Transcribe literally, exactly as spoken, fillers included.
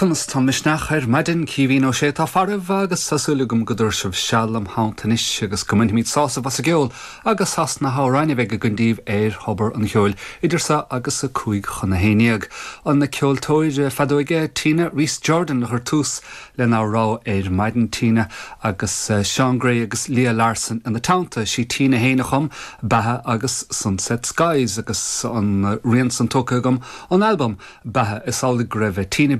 Conas tá misneach ar maidin Caoimhín Ó Sé atá faraibh agus tá súil agam go dtabharfaidh sibh seal im theannta anois agus go mbainfimid sásamh as an gceol agus as na hamhráin a bheidh againn daoibh ar Thobar an Cheoil idir seo agus a cúig chun a haon déag. An na ceoltóir feadóige Tina Reese Jordan a chuir tús lenár rogha ar maidin Tina agus Sean Gray agus Leah Larson ina teannta sí Tina féin a chum Beatha agus Sunset Skies agus an rian san tógtha agam an album Beatha is amhlaidh go raibh Tina